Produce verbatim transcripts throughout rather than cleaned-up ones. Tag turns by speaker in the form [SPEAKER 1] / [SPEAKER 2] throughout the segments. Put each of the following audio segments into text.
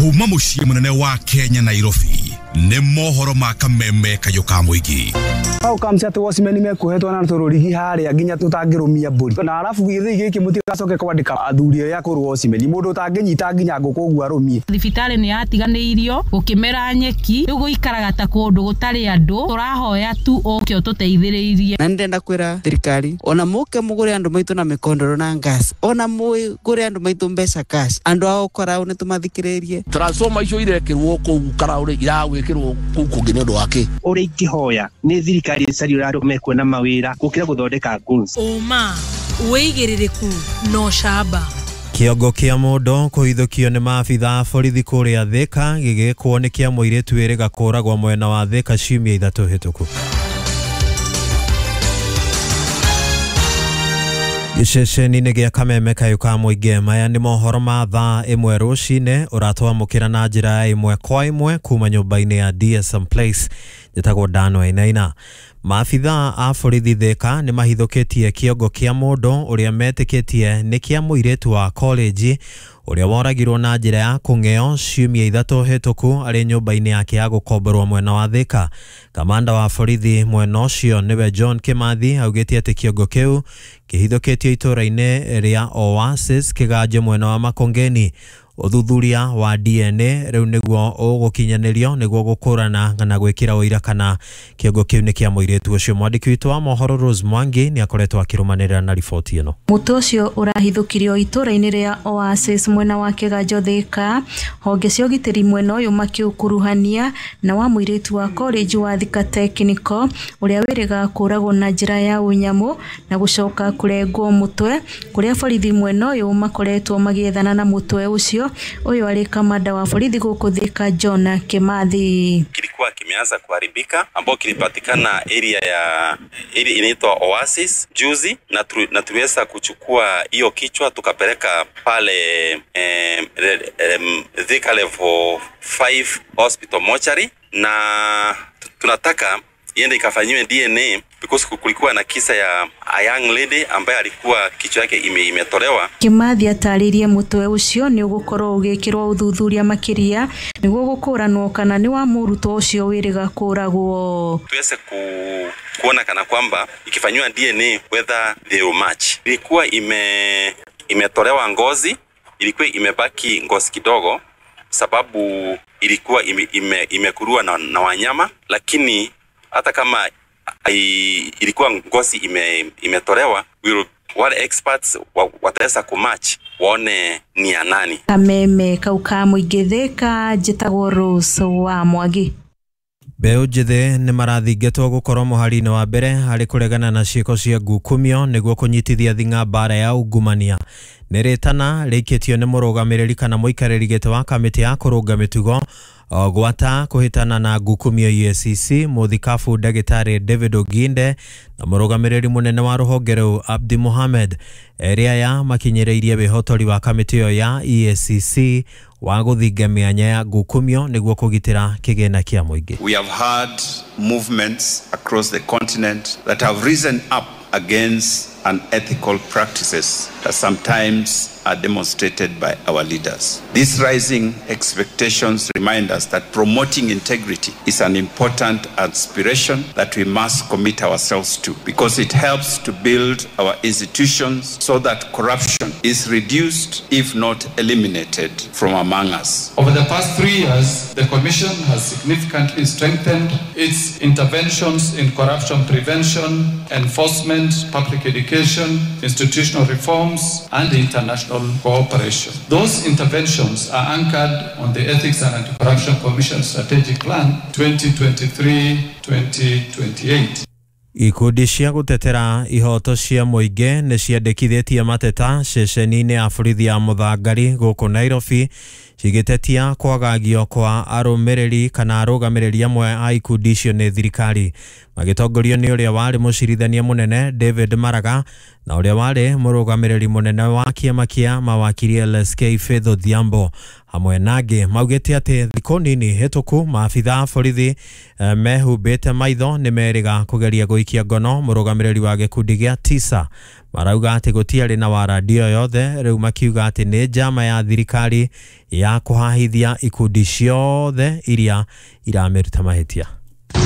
[SPEAKER 1] Kuma muciĩ munene wa Kenya Nairobi nĩ mohoro ma kameme kayũ ka mũingĩ.
[SPEAKER 2] How comes atĩ watchman mekuohetwo na tũrũrigi harĩa nginya tũtangĩrũmia mbũri na arabu gĩthĩi gĩkĩ mũtigacoke kwandĩka athuri arĩa akũrũ watchman mũndũ ũtangĩnyita nginya ngũkũ ũguo arũmie.
[SPEAKER 3] Thibitarĩ nĩ yatiganĩirio gũkĩmera nyeki rĩu gũikaraga ta kũndũ gũtarĩ andũ tũrahoya tu ũke ũtũteithĩrĩrie.
[SPEAKER 4] Na ndĩrenda kwĩra thirikari ona mũke mũgũre andũ maitũ na mĩkondoro na gas ona mũgũre andũ maitũ mbeca cash andũ ao karaũ nĩ tũmathikĩrĩrie.
[SPEAKER 5] Transformer icio irekĩrwo kũu karaũ rĩ iragwĩkĩrwo kũu kũngĩ nĩ ũndũ wa kĩ?
[SPEAKER 6] Ũrĩa ingĩhoya nĩ thirikari ĩcarie ũrĩa andũ mekuona mawĩra gũkĩra gũthondeka goons.
[SPEAKER 7] Ũma wĩigĩrĩrĩku na ũcamba.
[SPEAKER 8] Kĩongo kĩa mũndũ kũhithũkio nĩ maabitha a borithi kũrĩa Thika gĩgĩkwo nĩ kĩa mũirĩtu wĩrĩga kũragwo mwena wa Thika ciumia ithatũ hĩtũku. Gĩceceni-inĩ gĩa kameme kayũ ka mũingĩ maya nĩ mohoro ma thaa ĩmwe rũcinĩ ũratwamũkĩra na njĩra ya ĩmwe kwa ĩmwe kuma nyũmba-inĩ ya D S M Place. Njĩtagwo Dan Wainaina. Maabitha a borithi Thika nĩ mahithũkĩtie kĩongo kĩa mũndũ ũrĩa metĩkĩtie nĩ kĩa mũirĩtu wa college ũrĩa woragirwo na njĩra ya kũng'eo ciumia ithatũ hĩtũku arĩ nyũmba-inĩ yake ya gũkomborwo mwena wa Thika. Kamanda wa borithi mwena ũcio nĩwe John Kimathi augĩte atĩ kĩongo kĩu kĩhithũkĩtio itũũra-inĩ rĩa Oasis Kĩganjo mwena wa Makongeni. Ũthuthuria wa D N A rĩu nĩguo ũgũkinyanĩrio nĩguo gũkũrana na gwĩkĩra ũira kana kĩongo kĩu nĩ kĩa mũirĩtu ũcio. Mwandĩki witũ wa mohoro Rose Mwangi nĩ akoretwo akĩrũmanĩrĩra na riboti ĩno.
[SPEAKER 9] Mũtwe ũcio ũrahithũkirio itũũra-inĩ rĩa Oasis mwena wa Kĩganjo Thika, honge cia ũgitĩri mwena ũyũ makĩũkuruhania na wa mũirĩtu wa college wa Thika Technical ũrĩa wĩrĩga kũragwo na njĩra ya ũnyamũ na gũcoka kũrengwo mũtwe, kũrĩa borithi mwena ũyũ makoretwo magĩethana na mũtwe ũcio. Ũyũ arĩ kamanda wa borithi gũkũ Thika John Kimathi.
[SPEAKER 10] Kilikuwa kimeanza kuharibika ambao kilipatikana area ya area inaitwa Oasis juzi, na tu, na tuliweza kuchukua hiyo kichwa tukapeleka pale eh, eh, Thika level five hospital mortuary, na tunataka iende ikafanyiwe D N A because kulikuwa na kisa ya a young lady ambaye alikuwa kichwa yake ime, imetolewa.
[SPEAKER 9] Kimathi atarĩrie mũtwe ũcio nĩ ũgũkorwo ũgĩkĩrwo ũthuthuria makĩria nĩguo gũkũranwo kana nĩ wa mũrutwo ũcio wĩrĩga kũragwo.
[SPEAKER 10] Tuweze ku, kuona kana kwamba ikifanyiwa D N A whether they will match. Ilikuwa ime imetolewa ngozi, ilikuwa imebaki ngozi kidogo sababu ilikuwa ime, ime, imekurua na, na wanyama, lakini hata kama ilikuwa ngozi ime, imetolewa, we wale experts wataweza kumatch waone ni ya nani.
[SPEAKER 9] Kameme kau ka mũingĩ Thika, njĩtagwo Rose wa Mwangi.
[SPEAKER 8] Mbeũ njĩthĩ nĩ marathingatwo gũkorwo mũhari-inĩ wa mbere harĩ kũregana na ciĩko cia ngukumio nĩguo kũnyitithia thing'a mbara ya ungumania. Nĩ rĩtana rĩikĩtio nĩ mũrũgamĩrĩri kana mũikarĩri gĩtĩ wa kamĩtĩ ya kũrũnga mĩtugo gwata kũhĩtana na ngukumio E A C C mũthikabu ndagĩtarĩ David Oginde na mũrũgamĩrĩri mũnene wa rũhonge rũu Abdi Mohamed. Erĩ aya makinyĩrĩirie wĩhotori wa kamĩtĩ ĩyo ya E A C C wa gũthinga mĩanya ya ngukumio nĩguo kũgitĩra kĩgĩna kĩa mũingĩ.
[SPEAKER 11] We have had movements across the continent that have risen up against unethical practices that sometimes are demonstrated by our leaders. These rising expectations remind us that promoting integrity is an important aspiration that we must commit ourselves to, because it helps to build our institutions so that corruption is reduced, if not eliminated, from among us.
[SPEAKER 12] Over the past three years, the Commission has significantly strengthened its interventions in corruption prevention, enforcement, public education, institutional reforms, and international cooperation. Those interventions are anchored on the Ethics and Anti-Corruption Commission Strategic Plan twenty twenty-three to twenty twenty-eight.
[SPEAKER 8] Ikundi cia gũtetera ihoto cia mũingĩ nĩ ciandĩkithĩtie mateta ceceni-inĩ ya borithi ya Mũthangari gũkũ Nairobi cigĩtetia kwagagio kwa arũmĩrĩri kana arũgamĩrĩri amwe a ikundi icio nĩ thirikari. Magĩtongorio nĩ ũrĩa warĩ mũcirithania mũnene David Maraga na ũrĩa warĩ mũrũgamĩrĩri mũnene wa kĩama kĩa mawakiri L S K Faith Odhiambo hamwe nangĩ maugĩte atĩ thikũ nini hĩtũku maabitha a borithi mehumbĩte maitho nĩ merĩga kũgeria gũikia ngono mũrũgamĩrĩri wa gĩkundi gĩa tisa. Marauga atĩ gũtiarĩ na warandi o yothe, rĩu makiuga atĩ nĩ njama ya thirikari ya kũhahithia ikundi ciothe iria iramĩruta mahĩtia.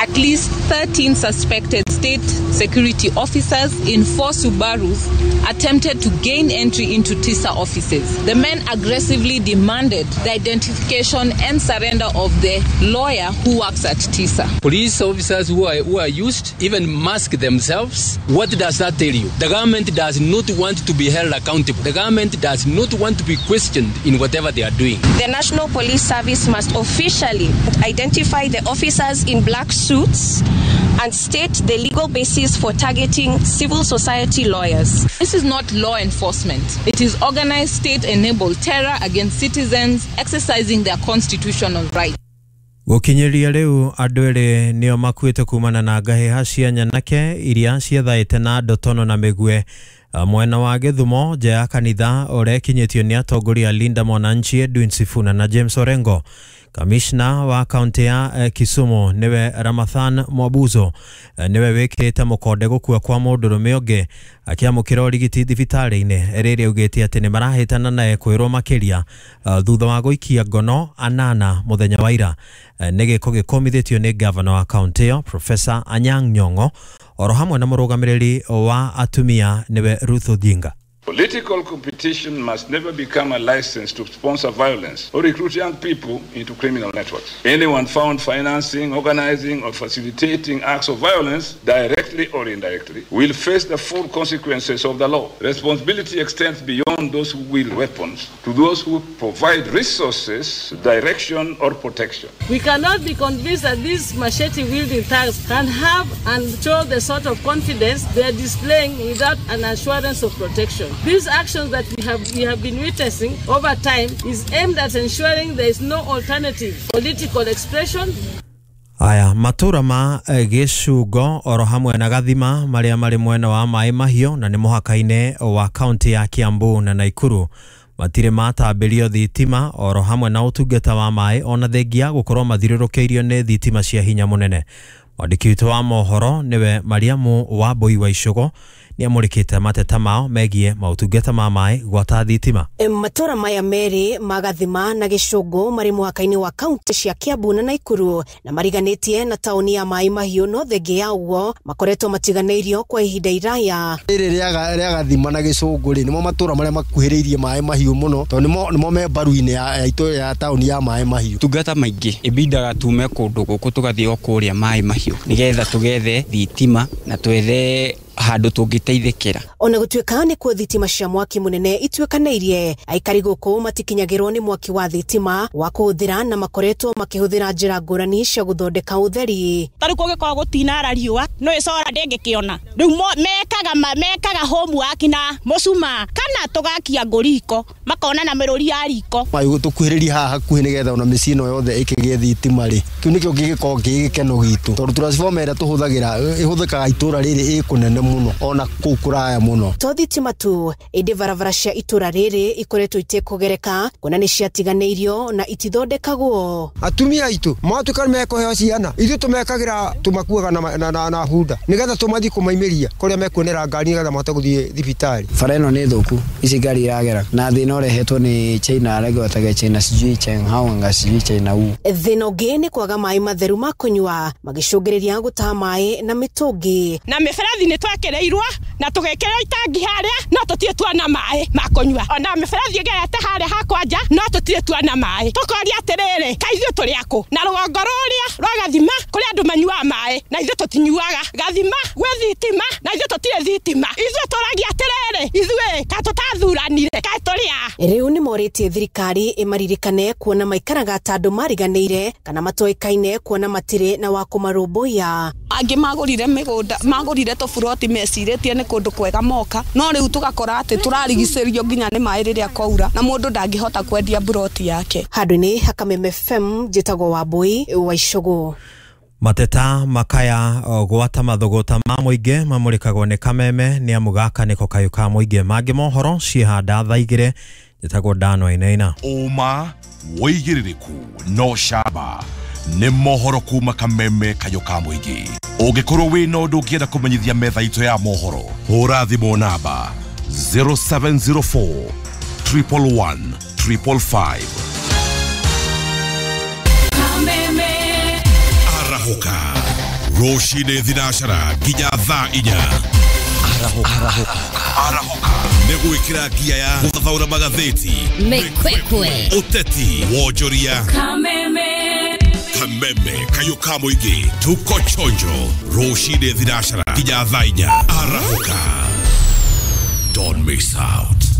[SPEAKER 13] At least thirteen suspected state security officers in four Subarus attempted to gain entry into T I S A offices. The men aggressively demanded the identification and surrender of the lawyer who works at T I S A.
[SPEAKER 14] Police officers who are, who are used even mask themselves. What does that tell you? The government does not want to be held accountable. The government does not want to be questioned in whatever they are doing.
[SPEAKER 15] The National Police Service must officially identify the officers in black suits and state the legal basis for targeting civil society lawyers.
[SPEAKER 13] This is not law enforcement. It is organized state-enabled terror against citizens exercising their constitutional rights.
[SPEAKER 8] Gũkinyĩria rĩu andũ erĩ nĩo makuĩte kumana na ngahĩha cia nyanake iria ciethaĩte na ndotono na mĩgue mwena wa Gĩthumo nja ya kanitha ũrĩa ĩkinyĩtio nĩ atongoria Linda Mwananchi Edwin Sifuna na James Orengo. Kamishna wa kaunti ya Kisumu niwe Ramathan Mwabuzo niwe wĩkĩrĩte mũkonde gũkua kwa mũndũrũme ũngĩ akĩamũkĩra ũrigiti thibitarĩ-inĩ rĩrĩa augĩte atĩ nĩ marahĩtana naye kwĩrwo makĩria thutha wa gũikia ngono anana mũthenya wa ira. Nĩ gĩko gĩkũmithĩtio nĩ gavana wa kaunti ĩyo Professor Anyang' Nyong'o oro hamwe na mũrũgamĩrĩri wa atumia niwe Ruth Odinga.
[SPEAKER 16] Political competition must never become a license to sponsor violence or recruit young people into criminal networks. Anyone found financing, organizing, or facilitating acts of violence, directly or indirectly, will face the full consequences of the law. Responsibility extends beyond those who wield weapons to those who provide resources, direction, or protection.
[SPEAKER 17] We cannot be convinced that these machete-wielding thugs can have and show the sort of confidence they are displaying without an assurance of protection. These actions that we have, we have been witnessing over time is aimed at ensuring there is no alternative political expression.
[SPEAKER 8] Aya matura ma Gĩcungo oro hamwe na Gathima marĩa marĩ mwena wa Maĩ Mahiũ na nĩ mũhaka-inĩ wa kaunti ya Kiambu na Naikuru matirĩ matambĩrio thitima oro hamwe na ũtungata wa maĩ ona thengia gũkorwo mathiũrũrũkĩirio nĩ thitima cia hinya mũnene. Mwandĩki witũ wa mohoro niwe Mariamu wa Mbui wa Icũgũ nĩamũrĩkĩte mateta mao megiĩ maũtungata ma maĩ gwata thitima.
[SPEAKER 18] Matura maya merĩ ma Gathima na Gĩcũngũ marĩ mũhaka-inĩ wa kaunti cia Kiambu na Naikuru na mariganĩtie na taũni ya Maĩ Mahiũ no thengia ya ũguo makoretwo matiganĩirio kwa ihinda iraya.
[SPEAKER 19] Rĩrĩ rĩa Gathima na Gĩcũngũ rĩ nĩmo matũra marĩa makuhĩrĩirie Maĩ Mahiũ mũno tondũ nĩmo nĩmo me mbaru-inĩ ya ya taũni ya Maĩ Mahiũ.
[SPEAKER 20] Tungata maingĩ ĩbindaga tume kũndũ gũkũ tũgathiĩ o kũrĩa Maĩ Mahiũ nĩgetha tũgethe thitima na twethe handũ tũngĩteithĩkĩra.
[SPEAKER 18] Ona gũtuĩka nĩ kuo thitima cia mwaki mũnene ituĩkanĩirie, aikari gũkũ matikinyagĩrwo nĩ mwaki wa thitima wa kũhũthĩra na makoretwo makĩhũthĩra njĩra ngũrani cia gũthondeka ũtheri.
[SPEAKER 21] Ta rĩu kũngĩkorwo gũtinara riũa no ĩcora ndĩngĩkĩona. Rĩu mekaga mekaga homework na mũcumaa kana tũgakia ngũ makona na mĩrũri ya riko.
[SPEAKER 19] Maĩ tũkuhĩrĩrie haha hakuhĩ nĩgetha ona mĩciĩ ĩno yothe ĩkĩgĩe thitima rĩ, kĩu nĩkĩo kĩngĩkorwo kĩ gĩkeno gitũ tondũ transformer ĩrĩa tũhũthagĩra ĩhũthĩkaga itũra rĩrĩ ĩ kũnene mũno ona kũu kũraya mũno.
[SPEAKER 18] To thitima tu ĩndĩ barabara cia itũra rĩrĩ ikoretwo itekũgereka kuona nĩ ciatiganĩirio na itithondekagwo.
[SPEAKER 22] Atumia aitũ matuĩka nĩmekũheo ciana ithuĩ tũmekagĩra tũmakuaga na, na, na, na hunda nĩgetha tũmathiĩ kũmaimĩria kũrĩa mekuonera ngari nĩgetha mahote gũthiĩ thibitarĩ.
[SPEAKER 23] Bara ĩno nĩ thũku, ici ngari iragera na thĩna ũrehetwo nĩ China arĩa China sijui China nga sijui China u.
[SPEAKER 18] Thĩna ũngĩ nĩ kwaga maĩ matheru ma kũnyua magĩcũngĩrĩria gũtaha maĩ na mĩtũngi.
[SPEAKER 21] Na mĩberethi nĩ twekereirwo na tũgekĩrwo itangi harĩa no tũtirĩ tuona maĩ ma kũnyua. Ona mĩberethi ĩgerete harĩa hakwa nja no tũtirĩ tuona maĩ. Tũkoria atĩrĩrĩ, kaĩ ithuĩ tũrĩ akũ? Na rũgongo rũrĩa rwa Gathima kũrĩ andũ manyuaga maĩ na ithuĩ tũtinyuaga. Gathima gwĩ thitima na ithuĩ tũtirĩ thitima. Ithuĩ tũragia atĩrĩrĩ, ithuĩ ka tũtathuranire kaĩ tũrĩ a?
[SPEAKER 18] Rĩu nĩ morĩtie thirikari ĩmaririkane kuona maikaraga ta andũ mariganĩire kana matoĩkaine kuona matirĩ na wa kũmarũmbũiya.
[SPEAKER 24] Angĩ magũrire mĩgũnda magũrire tũburoti mecirĩtie nĩ kũndũ kwega moka no rĩu tũgakora atĩ tũrarigicĩrio nginya nĩ maĩ rĩrĩa kwaura na mũndũ ndangĩhota kwendia buroti yake.
[SPEAKER 18] Handũ-inĩ ha Kameme F M njĩtagwo Wambui wa Icũgũ.
[SPEAKER 8] Mateta makaya gwata mathũgũta ma mũingĩ mamũrĩkagwo nĩ Kameme nĩ amu gaka nĩko kayũ ka mũingĩ. Mangĩ mohoro ciĩhanda thaa igĩrĩ. Njĩtagwo Dan Wainaina.
[SPEAKER 1] Ũma wĩigĩrĩrĩku no camba nĩ mohoro kuma Kameme kayũ ka mũingĩ. Ũngĩkorwo wĩna ũndũ ũngĩenda kũmenyithia metha itũ ya mohoro, hũra thimũ namba zero seven zero four triple one triple five. Arahũka rũcinĩ thinacara nginya thaa inya. Arahũka Arahũka nĩ gwĩkĩra ngia ya gũthathaũra magathĩti,
[SPEAKER 2] mĩkwekwe,
[SPEAKER 1] ũteti, wonjoria.
[SPEAKER 2] Kameme
[SPEAKER 1] Kameme kayũ ka mũingĩ, tuko chonjo rũcinĩ thinacara nginya thaa inya. Arahũka, don't miss out.